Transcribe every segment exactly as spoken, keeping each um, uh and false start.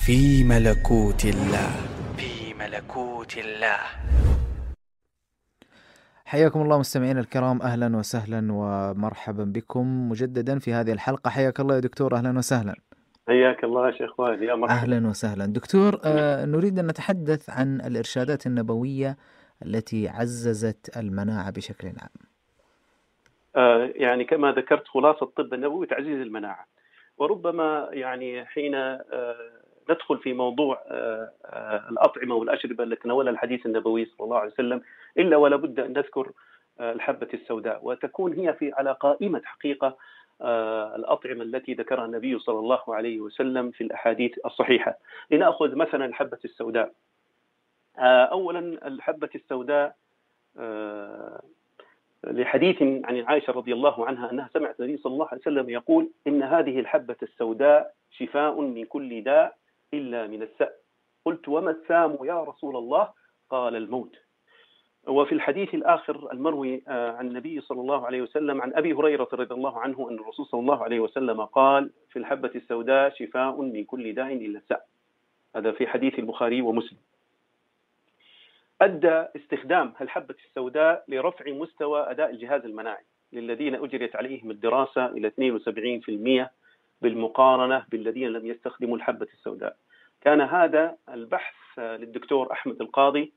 في ملكوت الله. في ملكوت الله. حياكم الله مستمعين الكرام، أهلا وسهلا ومرحبا بكم مجددا في هذه الحلقة. حياك الله يا دكتور، أهلا وسهلا. حياك الله يا شيخ وائل، يا مرحبا. أهلا وسهلا دكتور. آه نريد أن نتحدث عن الإرشادات النبوية التي عززت المناعة بشكل عام. آه يعني كما ذكرت، خلاصة الطب النبوي تعزيز المناعة. وربما يعني حين آه ندخل في موضوع آه آه الأطعمة والأشربة التي تناولها الحديث النبوي صلى الله عليه وسلم، إلا ولا بد أن نذكر آه الحبة السوداء، وتكون هي في على قائمة حقيقة آه الأطعمة التي ذكرها النبي صلى الله عليه وسلم في الأحاديث الصحيحة. لنأخذ مثلا الحبة السوداء. آه أولا الحبة السوداء آه لحديث عن عائشة رضي الله عنها أنها سمعت النبي صلى الله عليه وسلم يقول: إن هذه الحبة السوداء شفاء من كل داء إلا من السأم. قلت: وما السام يا رسول الله؟ قال: الموت. وفي الحديث الآخر المروي عن النبي صلى الله عليه وسلم عن أبي هريرة رضي الله عنه أن الرسول صلى الله عليه وسلم قال: في الحبة السوداء شفاء من كل داء إلا السأم. هذا في حديث البخاري ومسلم. أدى استخدام الحبة السوداء لرفع مستوى أداء الجهاز المناعي للذين أجريت عليهم الدراسة إلى اثنين وسبعين بالمئة بالمقارنة بالذين لم يستخدموا الحبة السوداء. كان هذا البحث للدكتور أحمد القاضي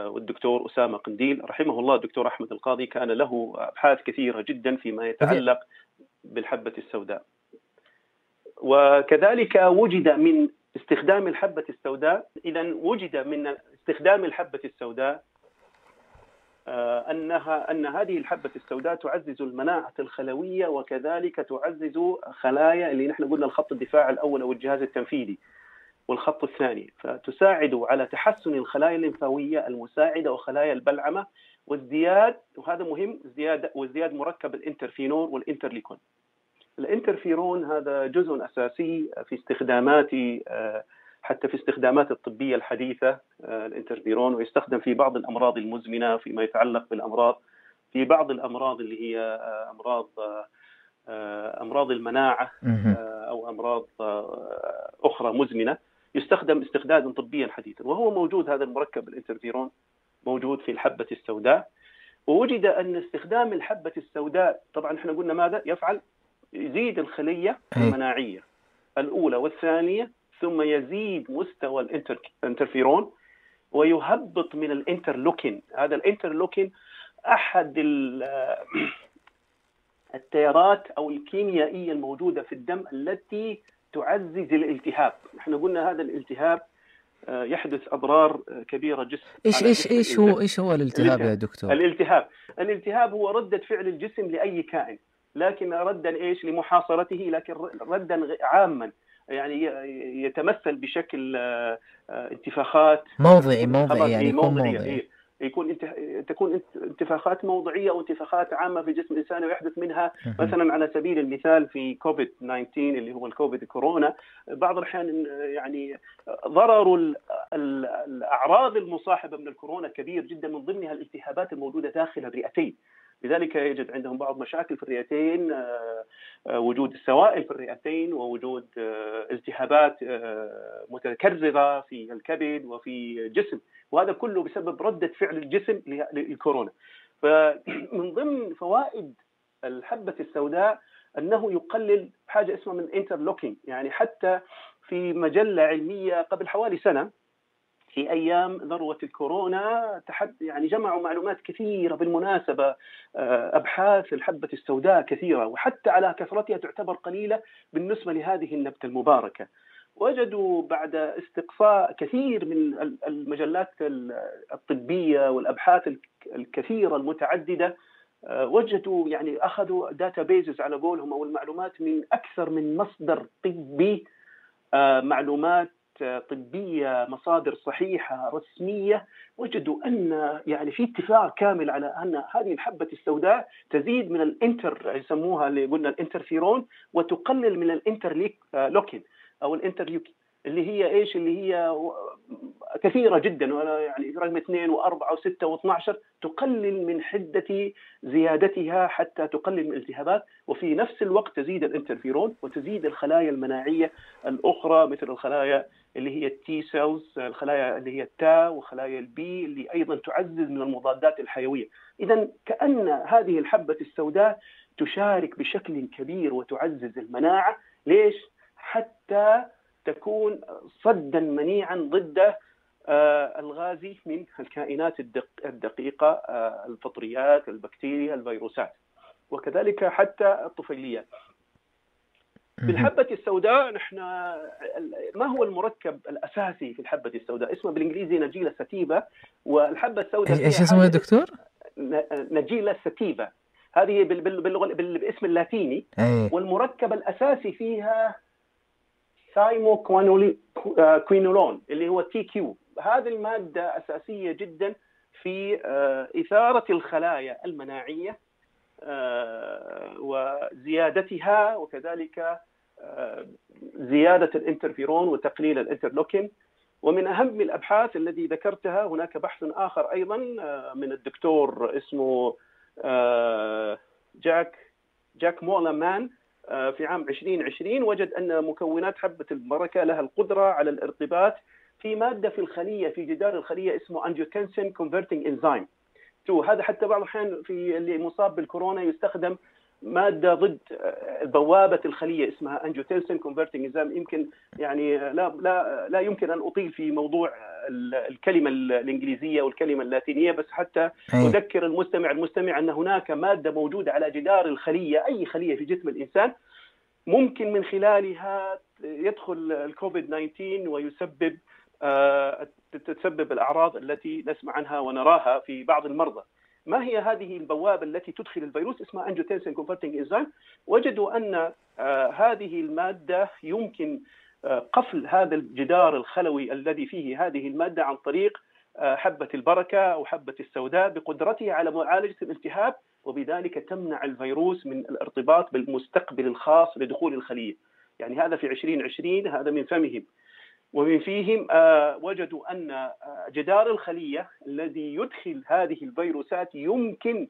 والدكتور أسامة قنديل رحمه الله. الدكتور أحمد القاضي كان له أبحاث كثيرة جدا فيما يتعلق بالحبة السوداء. وكذلك وجد من استخدام الحبة السوداء، إذا وجد من استخدام الحبة السوداء أنها أن هذه الحبة السوداء تعزز المناعة الخلوية، وكذلك تعزز خلايا اللي نحن قلنا الخط الدفاع الأول أو الجهاز التنفيذي والخط الثاني، فتساعد على تحسن الخلايا الليمفاوية المساعدة وخلايا البلعمة وازدياد، وهذا مهم، ازدياد وازدياد مركب الانترفينور والانترليكون. الانترفيرون هذا جزء أساسي في استخدامات حتى في استخدامات الطبية الحديثة الانترفيرون، ويستخدم في بعض الأمراض المزمنة فيما يتعلق بالأمراض، في بعض الأمراض اللي هي أمراض أمراض المناعة أو أمراض أخرى مزمنة، يستخدم استخداما طبيا حديثا. وهو موجود هذا المركب الانترفيرون موجود في الحبة السوداء. ووجد أن استخدام الحبة السوداء طبعا احنا قلنا ماذا يفعل؟ يزيد الخلية المناعية الأولى والثانية، ثم يزيد مستوى الانترفيرون ويهبط من الانترلوكين. هذا الانترلوكين أحد التيارات أو الكيميائية الموجودة في الدم التي تعزز الالتهاب. نحن قلنا هذا الالتهاب يحدث أضرار كبيرة جسم. إيش إيش إيش هو إيش هو الالتهاب يا دكتور؟ الالتهاب الالتهاب هو ردة فعل الجسم لأي كائن، لكن ردا إيش لمحاصرته، لكن ردا عاما يعني يتمثل بشكل انتفاخات موضعي موضعي يعني يكون موضعي يكون تكون انتفاخات موضعية أو انتفاخات عامة في جسم الإنسان، ويحدث منها مثلا على سبيل المثال في كوفيد تسعة عشر اللي هو الكوفيد كورونا، بعض الأحيان يعني ضرر الأعراض المصاحبة من الكورونا كبير جدا، من ضمنها الالتهابات الموجودة داخل الرئتين. لذلك يوجد عندهم بعض مشاكل في الرئتين، وجود السوائل في الرئتين، ووجود التهابات متكررة في الكبد وفي الجسم، وهذا كله بسبب ردة فعل الجسم للكورونا. فمن ضمن فوائد الحبة السوداء أنه يقلل حاجة اسمها من انترلوكين. يعني حتى في مجلة علمية قبل حوالي سنة في أيام ذروة الكورونا تحد يعني جمعوا معلومات كثيرة بالمناسبة، أبحاث الحبة السوداء كثيرة، وحتى على كثرتها تعتبر قليلة بالنسبة لهذه النبتة المباركة. وجدوا بعد استقصاء كثير من المجلات الطبية والأبحاث الكثيرة المتعددة، وجدوا يعني أخذوا داتا بيزز على قولهم أو المعلومات من أكثر من مصدر طبي، معلومات طبية، مصادر صحيحة رسمية، وجدوا أن يعني في اتفاق كامل على أن هذه الحبة السوداء تزيد من الانتر يسموها اللي قلنا الانترفيرون، وتقلل من الانترلوكين أو الانترلوكين. اللي هي ايش؟ اللي هي كثيره جدا، ولا يعني رقم اثنين واربعه وسته واثني عشر، تقلل من حده زيادتها حتى تقلل من الالتهابات، وفي نفس الوقت تزيد الانترفيرون وتزيد الخلايا المناعيه الاخرى مثل الخلايا اللي هي التي سيلز، الخلايا اللي هي التا وخلايا البي اللي ايضا تعزز من المضادات الحيويه. اذا كأن هذه الحبه السوداء تشارك بشكل كبير وتعزز المناعه. ليش؟ حتى تكون صدا منيعا ضد الغازي من الكائنات الدقيقة، الفطريات، البكتيريا، الفيروسات، وكذلك حتى الطفيليات. في الحبة السوداء نحن ما هو المركب الأساسي في الحبة السوداء؟ اسمه بالإنجليزي نجيلة ساتيفا. والحبة السوداء ايش اسمه يا دكتور؟ نجيلة ساتيفا، هذه باللغة بالاسم اللاتيني. أيه. والمركب الأساسي فيها ثايموكوينولون اللي هو تي كيو. هذه المادة أساسية جدا في إثارة الخلايا المناعية وزيادتها، وكذلك زيادة الانترفيرون وتقليل الانترلوكين. ومن أهم الأبحاث الذي ذكرتها هناك بحث آخر أيضا من الدكتور اسمه جاك جاك مولمان في عام عشرين عشرين، وجد أن مكونات حبة البركة لها القدرة على الارتباط في مادة في الخلية، في جدار الخلية اسمه angiotensin converting enzyme تو. هذا حتى بعض الأحيان في اللي مصاب بالكورونا يستخدم مادة ضد بوابة الخلية اسمها angiotensin converting enzyme. يمكن يعني لا لا لا يمكن أن أطيل في موضوع الكلمة الإنجليزية والكلمة اللاتينية، بس حتى أذكر المستمع المستمع أن هناك مادة موجودة على جدار الخلية، أي خلية في جسم الإنسان، ممكن من خلالها يدخل الكوفيد تسعة عشر ويسبب تسبب الأعراض التي نسمع عنها ونراها في بعض المرضى. ما هي هذه البوابة التي تدخل الفيروس؟ اسمها angiotensin converting enzyme. وجدوا أن هذه المادة يمكن قفل هذا الجدار الخلوي الذي فيه هذه المادة عن طريق حبة البركة أو حبة السوداء بقدرتها على معالجة الالتهاب، وبذلك تمنع الفيروس من الارتباط بالمستقبل الخاص لدخول الخلية. يعني هذا في عشرين عشرين، هذا من فمهم. ومن فيهم وجدوا أن جدار الخلية الذي يدخل هذه الفيروسات يمكن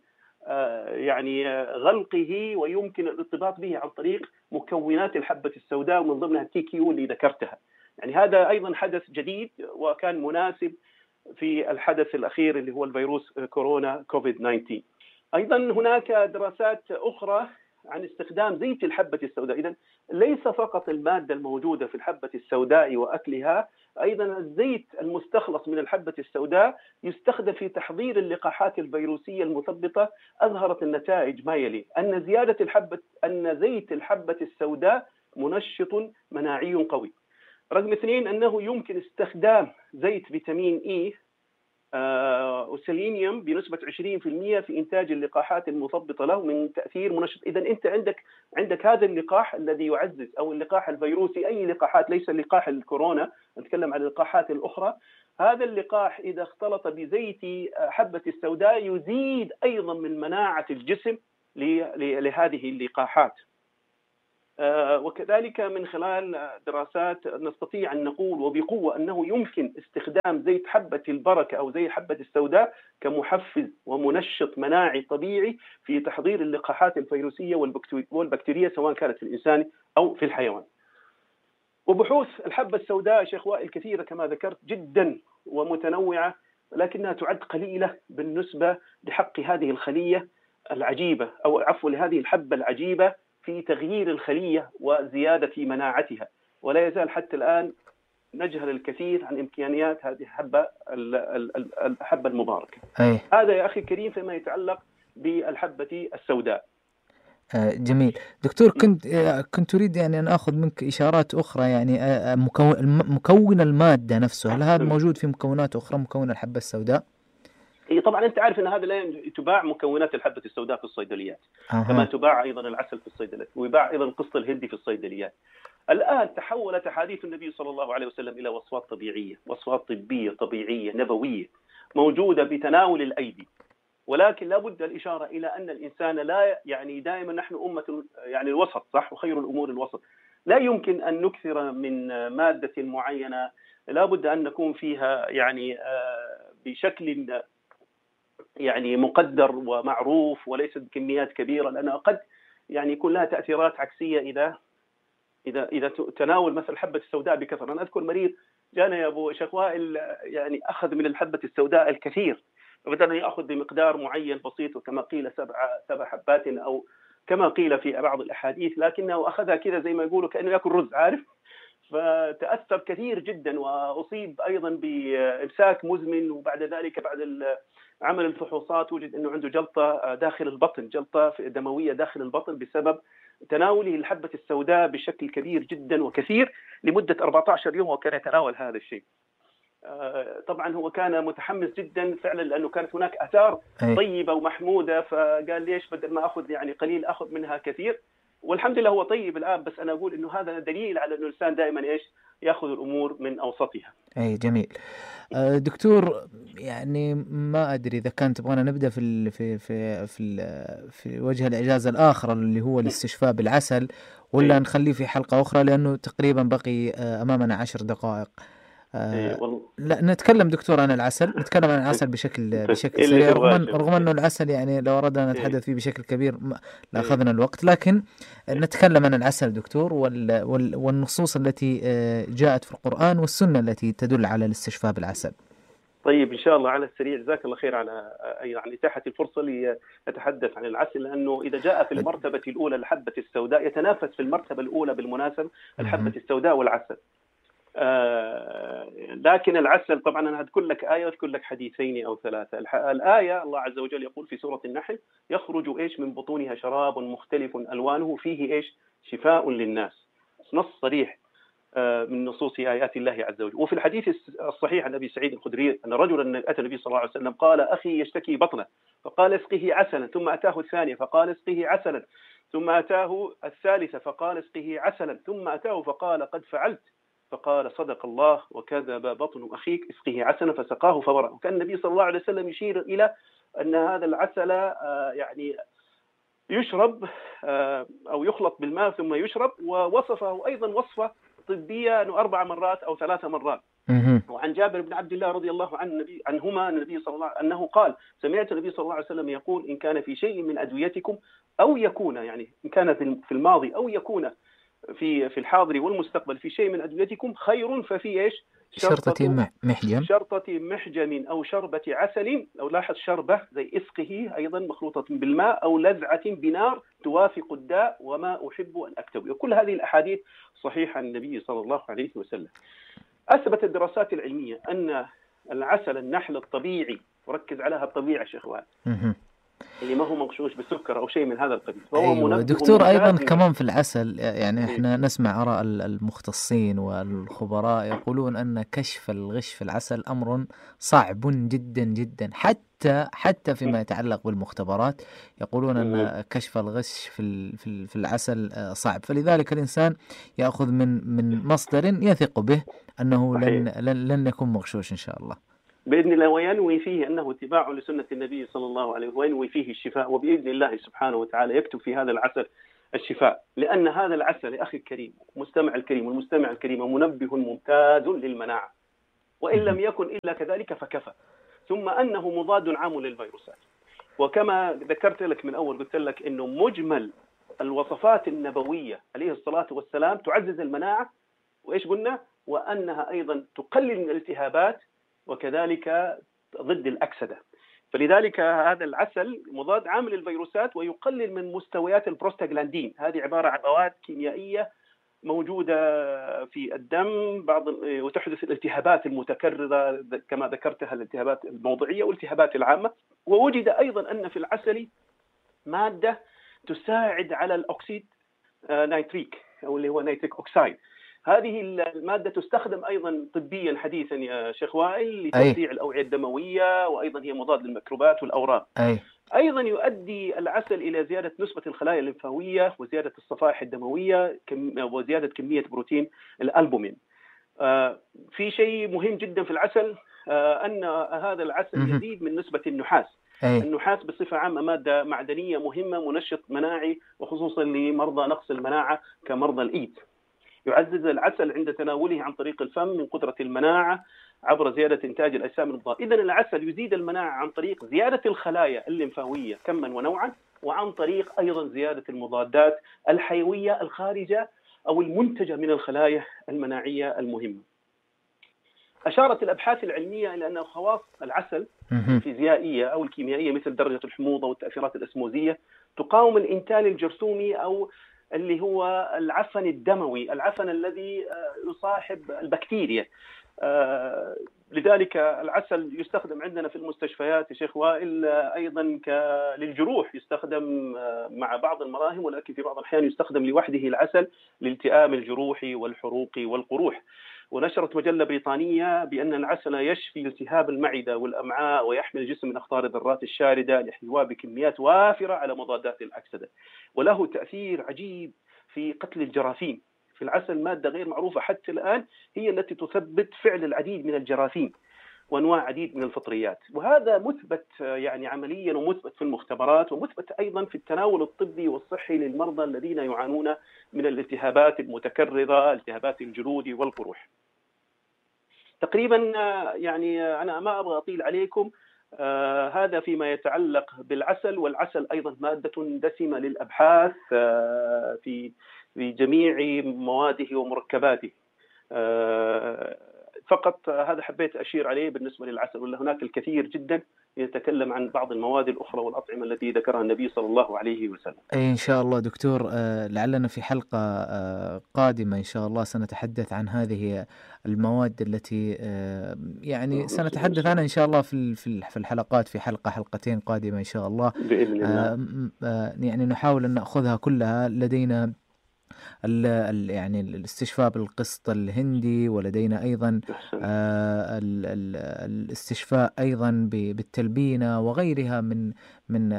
يعني غلقه ويمكن الارتباط به عن طريق مكونات الحبة السوداء، ومن ضمنها التي كيو اللي ذكرتها. يعني هذا أيضا حدث جديد وكان مناسب في الحدث الأخير اللي هو الفيروس كورونا كوفيد تسعة عشر. أيضا هناك دراسات أخرى عن استخدام زيت الحبة السوداء. إذن ليس فقط المادة الموجودة في الحبة السوداء وأكلها، أيضا الزيت المستخلص من الحبة السوداء يستخدم في تحضير اللقاحات الفيروسية المثبطة. أظهرت النتائج ما يلي: أن زيادة الحبة أن زيت الحبة السوداء منشط مناعي قوي. رقم اثنين، أنه يمكن استخدام زيت فيتامين إي وسيلينيوم بنسبة عشرين بالمئة في إنتاج اللقاحات المثبطة له من تأثير منشط. إذا أنت عندك عندك هذا اللقاح الذي يعزز، أو اللقاح الفيروسي، أي لقاحات، ليس اللقاح الكورونا، نتكلم عن اللقاحات الأخرى. هذا اللقاح إذا اختلط بزيت حبة السوداء يزيد أيضا من مناعة الجسم لهذه اللقاحات. وكذلك من خلال دراسات نستطيع أن نقول وبقوة أنه يمكن استخدام زيت حبة البركة أو زيت حبة السوداء كمحفز ومنشط مناعي طبيعي في تحضير اللقاحات الفيروسية والبكتيرية، سواء كانت في الإنسان أو في الحيوان. وبحوث الحبة السوداء شيخ وائل كثيرة كما ذكرت جدا ومتنوعة، لكنها تعد قليلة بالنسبة لحق هذه الخلية العجيبة، أو عفوا لهذه الحبة العجيبة في تغيير الخلية وزيادة مناعتها. ولا يزال حتى الآن نجهل الكثير عن إمكانيات هذه الحبة الحبة المباركة. أي. هذا يا أخي الكريم فيما يتعلق بالحبة السوداء. آه جميل دكتور. كنت آه كنت أريد يعني أن أخذ منك إشارات أخرى، يعني آه مكون مكون المادة نفسه، هل هذا موجود في مكونات أخرى مكون الحبة السوداء؟ هي طبعا انت عارف ان هذا لا تباع مكونات الحبه السوداء في الصيدليات، أه. كما تباع ايضا العسل في الصيدليات، ويباع ايضا القسط الهندي في الصيدليات. الان تحولت احاديث النبي صلى الله عليه وسلم الى وصفات طبيعيه، وصفات طبيه طبيعيه نبويه موجوده بتناول الايدي. ولكن لابد الاشاره الى ان الانسان لا، يعني دائما نحن امه يعني الوسط، صح، وخير الامور الوسط. لا يمكن أن نكثر من مادة معينة، لا بد أن نكون فيها يعني بشكل يعني مقدر ومعروف وليست بكميات كبيرة، لأنها قد يعني يكون لها تأثيرات عكسية إذا إذا إذا تناول مثل الحبة السوداء بكثرة. أنا أذكر مريض جانا يا أبو شيخ وائل يعني أخذ من الحبة السوداء الكثير، وبدأنا يأخذ بمقدار معين بسيط، وكما قيل سبع سبع حبات أو كما قيل في بعض الأحاديث، لكنه أخذها كذا زي ما يقولوا كأنه يأكل رز، عارف، فتأثر كثير جدا، وأصيب أيضا بإمساك مزمن، وبعد ذلك بعد عمل الفحوصات وجد أنه عنده جلطة داخل البطن، جلطة دموية داخل البطن بسبب تناوله الحبة السوداء بشكل كبير جدا وكثير لمدة أربعة عشر يوم، وكان يتناول هذا الشيء. طبعا هو كان متحمس جدا فعلا لأنه كانت هناك آثار طيبة ومحمودة، فقال ليش بدل ما أخذ يعني قليل أخذ منها كثير، والحمد لله هو طيب الآن. بس أنا أقول إنه هذا دليل على إنه الإنسان دائما إيش يأخذ الأمور من أوسطها. أي جميل. دكتور يعني ما أدري إذا كان تبغانا نبدأ في ال في في في في وجه الإعجاز الآخر اللي هو الاستشفاء بالعسل، ولا نخليه في حلقة أخرى لأنه تقريبا بقي أمامنا عشر دقائق. آه لا نتكلم دكتور عن العسل، نتكلم عن العسل بشكل بشكل سريع، رغم رغم انه العسل يعني لو اردنا نتحدث فيه بشكل كبير لاخذنا الوقت، لكن نتكلم عن العسل دكتور وال وال والنصوص التي جاءت في القرآن والسنة التي تدل على الاستشفاء بالعسل. طيب إن شاء الله على السريع، جزاك الله خير على يعني إتاحة الفرصة لنتحدث عن العسل، لأنه إذا جاء في المرتبة الأولى الحبة السوداء، يتنافس في المرتبة الأولى بالمناسبة الحبة السوداء والعسل. آه لكن العسل طبعا أنا أذكر لك آية وأذكر لك حديثين أو ثلاثة. الآية الله عز وجل يقول في سورة النحل: يخرج إيش من بطونها شراب مختلف ألوانه فيه إيش شفاء للناس. نص صريح آه من نصوص آيات الله عز وجل. وفي الحديث الصحيح عن أبي سعيد الخدري أن رجلا أتى النبي صلى الله عليه وسلم قال: أخي يشتكي بطنه، فقال: اسقه عسلا. ثم أتاه الثانية فقال: اسقه عسلا. ثم أتاه الثالثة فقال: اسقه عسلا. ثم أتاه فقال: قد فعلت. فقال: صدق الله وكذب بطن أخيك، اسقه عسلا. فسقاه فبرأ. وكان النبي صلى الله عليه وسلم يشير إلى أن هذا العسل يعني يشرب أو يخلط بالماء ثم يشرب، ووصفه أيضا وصفة طبية أنه أربع مرات أو ثلاث مرات. وعن جابر بن عبد الله رضي الله عنه النبي عنهما النبي صلى الله أنه قال: سمعت النبي صلى الله عليه وسلم يقول: إن كان في شيء من أدويتكم أو يكون يعني إن كان في الماضي أو يكون في في الحاضر والمستقبل في شيء من أدويتكم خير ففي إيش شرطة محجم شرطة محجم أو شربة عسل، أو لاحظ شربة زي إسقه أيضا مخلوطة بالماء، أو لذعة بنار توافق الداء وما أحب أن أكتوي. وكل هذه الأحاديث صحيحة عن النبي صلى الله عليه وسلم. أثبت الدراسات العلمية أن العسل النحل الطبيعي، وركز عليها الطبيعة شيخ وائل، اللي ما هو مغشوش بالسكر أو شيء من هذا القبيل. أيوة دكتور، أيضا كمان في العسل يعني إحنا نسمع آراء المختصين والخبراء يقولون أن كشف الغش في العسل أمر صعب جدا جدا، حتى حتى فيما يتعلق بالمختبرات يقولون أن كشف الغش في في العسل صعب، فلذلك الإنسان يأخذ من من مصدر يثق به أنه لن لن لن يكون مغشوش إن شاء الله بإذن الله، وينوي فيه أنه اتباع لسنة النبي صلى الله عليه وسلم، وينوي فيه الشفاء، وبإذن الله سبحانه وتعالى يكتب في هذا العسل الشفاء. لأن هذا العسل أخي الكريم مستمع الكريم والمستمع الكريم منبه ممتاز للمناعة، وإن لم يكن إلا كذلك فكفى. ثم أنه مضاد عام للفيروسات، وكما ذكرت لك من أول قلت لك أنه مجمل الوصفات النبوية عليه الصلاة والسلام تعزز المناعة، وإيش قلنا؟ وأنها أيضا تقلل من الالتهابات، وكذلك ضد الأكسدة. فلذلك هذا العسل مضاد عام للفيروسات، ويقلل من مستويات البروستاغلاندين. هذه عبارة عن مواد كيميائية موجودة في الدم بعض، وتحدث الالتهابات المتكررة كما ذكرتها، الالتهابات الموضعية والالتهابات العامة. ووجد أيضا أن في العسل مادة تساعد على الأكسيد نيتريك أو اللي هو نيتريك أوكسايد. هذه المادة تستخدم أيضا طبيا حديثا يا شيخ وائل لتوسيع الأوعية الدموية، وأيضا هي مضاد للميكروبات والأورام. أي. أيضا يؤدي العسل إلى زيادة نسبة الخلايا الليمفاوية، وزيادة الصفائح الدموية، وزيادة كمية بروتين الألبومين. آه في شيء مهم جدا في العسل، آه أن هذا العسل يزيد من نسبة النحاس. أي. النحاس بصفة عامة مادة معدنية مهمة، منشط مناعي، وخصوصا لمرضى نقص المناعة كمرضى الإيد. يعزز العسل عند تناوله عن طريق الفم من قدرة المناعة عبر زيادة إنتاج الأجسام المضادة. إذن العسل يزيد المناعة عن طريق زيادة الخلايا الليمفاوية كما ونوعا، وعن طريق أيضا زيادة المضادات الحيوية الخارجة أو المنتجة من الخلايا المناعية المهمة. أشارت الأبحاث العلمية إلى أن خواص العسل الفيزيائية أو الكيميائية مثل درجة الحموضة والتأثيرات الأسموزية تقاوم الإنتان الجرثومي أو اللي هو العفن الدموي، العفن الذي يصاحب البكتيريا. لذلك العسل يستخدم عندنا في المستشفيات يا شيخ وائل أيضا للجروح، يستخدم مع بعض المراهم، ولكن في بعض الأحيان يستخدم لوحده العسل لالتئام الجروح والحروق والقروح. ونشرت مجلة بريطانية بأن العسل يشفي التهاب المعدة والأمعاء ويحمي الجسم من أخطار الذرات الشاردة لاحتوائه بكميات وافرة على مضادات الأكسدة، وله تأثير عجيب في قتل الجراثيم. في العسل مادة غير معروفة حتى الآن هي التي تثبت فعل العديد من الجراثيم وأنواع عديد من الفطريات، وهذا مثبت يعني عمليا ومثبت في المختبرات ومثبت أيضا في التناول الطبي والصحي للمرضى الذين يعانون من الالتهابات المتكررة، التهابات الجلود والقروح. تقريبا يعني أنا ما أبغى أطيل عليكم، آه هذا فيما يتعلق بالعسل. والعسل أيضا مادة دسمة للأبحاث آه في في جميع مواده ومركباته. آه فقط هذا حبيت أشير عليه بالنسبة للعسل، ولا هناك الكثير جدا يتكلم عن بعض المواد الأخرى والأطعمة التي ذكرها النبي صلى الله عليه وسلم. إن شاء الله دكتور، لعلنا في حلقة قادمة إن شاء الله سنتحدث عن هذه المواد التي يعني سنتحدث عنها إن شاء الله في في الحلقات، في حلقة حلقتين قادمة إن شاء الله بإذن الله. يعني نحاول أن نأخذها كلها. لدينا ال ال يعني الاستشفاء بالقسط الهندي، ولدينا أيضا آه ال ال الاستشفاء أيضا بالتلبينة وغيرها من من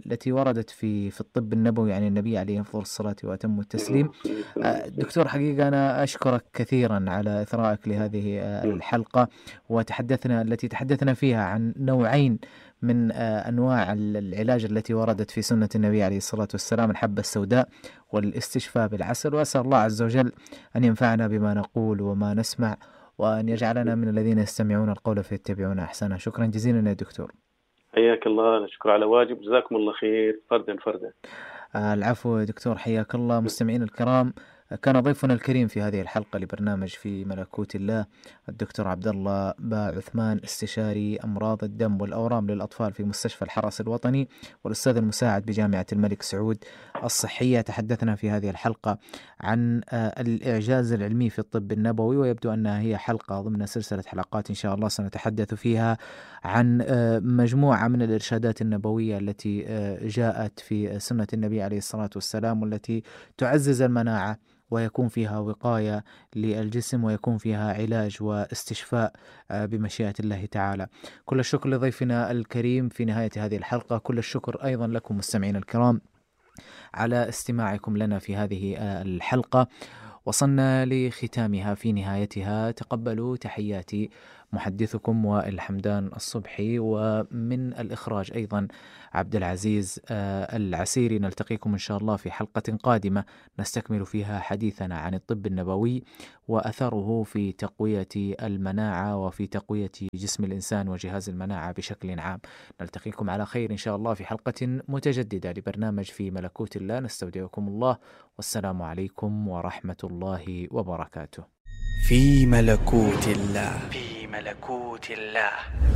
التي وردت في في الطب النبوي عن النبي عليه أفضل الصلاة وأتم التسليم. آه دكتور حقيقة أنا أشكرك كثيرا على إثرائك لهذه آه الحلقة، وتحدثنا التي تحدثنا فيها عن نوعين من أنواع العلاج التي وردت في سنة النبي عليه الصلاة والسلام، الحبة السوداء والاستشفاء بالعسل. وأسأل الله عز وجل أن ينفعنا بما نقول وما نسمع، وأن يجعلنا من الذين يستمعون القول فيتبعون أحسنه. شكرا جزيلا يا دكتور. حياك الله، نشكر على واجب، جزاكم الله خير فردا فردا. آه العفو يا دكتور، حياك الله. مستمعين الكرام، كان ضيفنا الكريم في هذه الحلقة لبرنامج في ملكوت الله الدكتور عبد الله با عثمان، استشاري أمراض الدم والأورام للأطفال في مستشفى الحرس الوطني، والأستاذ المساعد بجامعة الملك سعود الصحية. تحدثنا في هذه الحلقة عن الإعجاز العلمي في الطب النبوي، ويبدو أنها هي حلقة ضمن سلسلة حلقات إن شاء الله سنتحدث فيها عن مجموعة من الإرشادات النبوية التي جاءت في سنة النبي عليه الصلاة والسلام، والتي تعزز المناعة ويكون فيها وقاية للجسم ويكون فيها علاج واستشفاء بمشيئة الله تعالى. كل الشكر لضيفنا الكريم في نهاية هذه الحلقة. كل الشكر أيضا لكم مستمعين الكرام على استماعكم لنا في هذه الحلقة. وصلنا لختامها في نهايتها. تقبلوا تحياتي محدثكم وائل حمدان الصبحي، ومن الإخراج أيضا عبد العزيز العسيري. نلتقيكم إن شاء الله في حلقة قادمة نستكمل فيها حديثنا عن الطب النبوي وأثره في تقوية المناعة وفي تقوية جسم الإنسان وجهاز المناعة بشكل عام. نلتقيكم على خير إن شاء الله في حلقة متجددة لبرنامج في ملكوت الله. نستودعكم الله، والسلام عليكم ورحمة الله وبركاته. في ملكوت الله. في ملكوت الله.